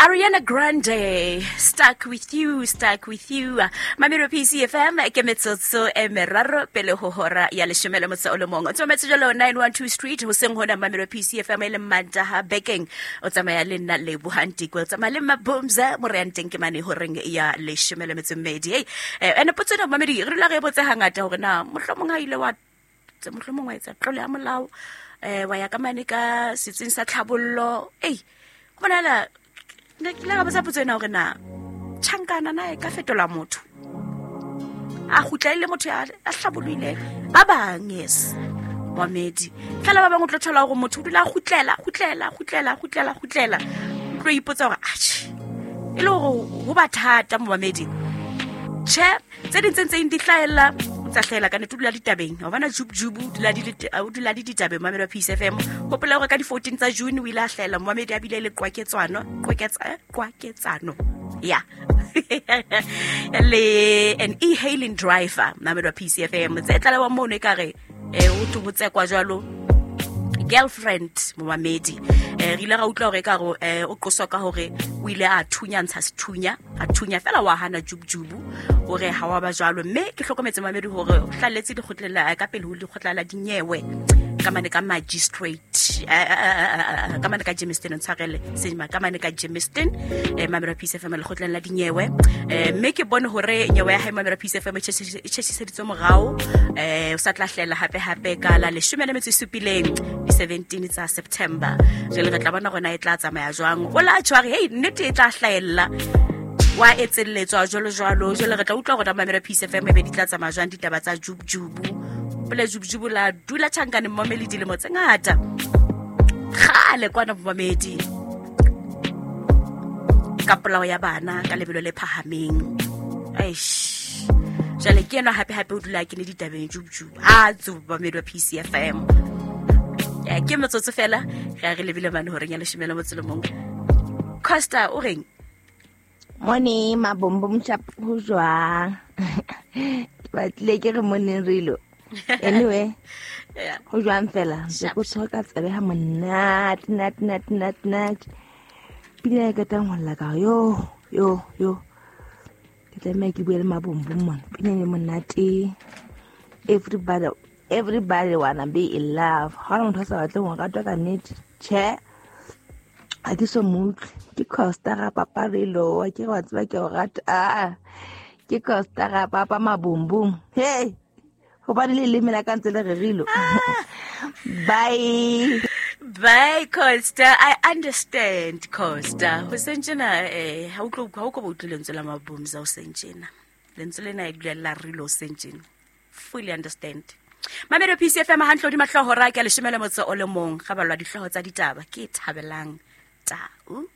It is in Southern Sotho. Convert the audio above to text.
Ariana Grande, Stuck With You, Stuck With You. Mamelo PCFM, ke metsotso e meraro pele ho hora ya leshome le motso o le mong. O tsometse jalo 912 Street, ho seng hona Mamelo PCFM e le Mantaha bekeng. O tsamaya le nna Lebohang Tikwe, o tsamaya le Mabumza, moreyang teng ke mane horeng ya leshome le metso e mmedi. Hey, ene potso ena mamedi, re dula re e botse hangata hore na mohlomong ha ile wa mohlomong wa etsa tlolo ya molao um wa ya ka mane ka setsing sa tlhabollo. Ei, go bonala ne ke ile ka botsa potso ena gore na tšhankana na e ka fetola motho a gutla e le motho a tlhaboloileng ba bang. Yes, momedi fela ba bangwe o tlo thola gore motho o dula a gutlela gutlela gutlela gutlela gutlela, o tlo ipotsa gore atšhe e le gore go ba thata momamedi. Tšhe, tse ding tse ntseng di hlaella tsa hlaela ka nete, o dula ditabeng wa bona jubjubu o dula le ditabeng. Mamedi wa Peace FM, gopola gore ka di-14 tsa June o ile a hlaela momamedi a bile le qwaketsano qwaketsano ya le an e-hailing driver. Mamedi wa Peace FM, tse tlalewa mono e kare o thwe ho tsekwa jalo girlfriend momamedi. Re ile ra utlwa hore ka re o qoswa ka hore o ile a thunya ntsha sethunya, a thunya fela wa hana jubujubu hore ha wa ba jwalo. Mme ke hlokometse mamedi hore o hlalletse lekgotleng la ka pele ho lekgotla la dinyewe ka mane ka magistrate, ka mane ka Germiston, ntshwarele sema, ka mane ka Germiston, mamedi wa Peace FM, lekgotleng la dinyewe. Mme ke bone hore nyewe ya hae, mamedi wa Peace FM, e tjhetjhiseditswe morao, o sa tla hlela hape hape ka la 17 di-17 tsa September. Jwale re tla bona gona e tla tsamaya jwang. O la tjho a re hei, nnete e tla hlaella wa etselletswa jwalo jwalo. Jwale re tla utlwa gona mamelo Peace FM e be di tla tsamaya jwang ditaba tsa jubujubu. Pele jubujubu la dula tjhankaneng momeli dilemo tse ngata kgale kwana momamedi ka polao ya bana ka lebelo le phahameng. Eish, jwale ke enwa hape hape o dula ke le ditabeng jubujubu ha tsuba mamedi wa PCFM. Ke metsotso fela re a re lebile mane horeng ya leshome le motso le mong. Costa o reng? Mone mabombo moshapo ho jwang? Ke batlile ke re moneng rilo. Anyway, ho jwang fela? Ntse ko tshwara ka tsebe ha monate, nate, nate, nate, nate. Pina e qetang ho lla ka yo, yo, yo. Ke tlameha ke bue le mabombo mona. Pina e monate. Everybody, everybody wanna be in love. Ha hona motho a sa batleng ho ratwa ka nnete. Tjhe, ha ke so mo utlwe. Ke Costa ga papa Relo, wa ke re wa tseba ke o rata. Ah, ke Costa ga papa mabumbum. Hey, hobane le leleme la ka ntse le rerilwe. Bye. Bye Costa, I understand Costa. Ho sentjena ha o tlo ha o ko ba utlwe lentswe la mabumza o sentjena. Lentswe lena e dula la rilo sentjena. Fully understand. Mamelo PCFM hantle hodima hlooho ra ke 11 le motso o le mong ga balwa dihlooho tsa ditaba ke thabelang tau.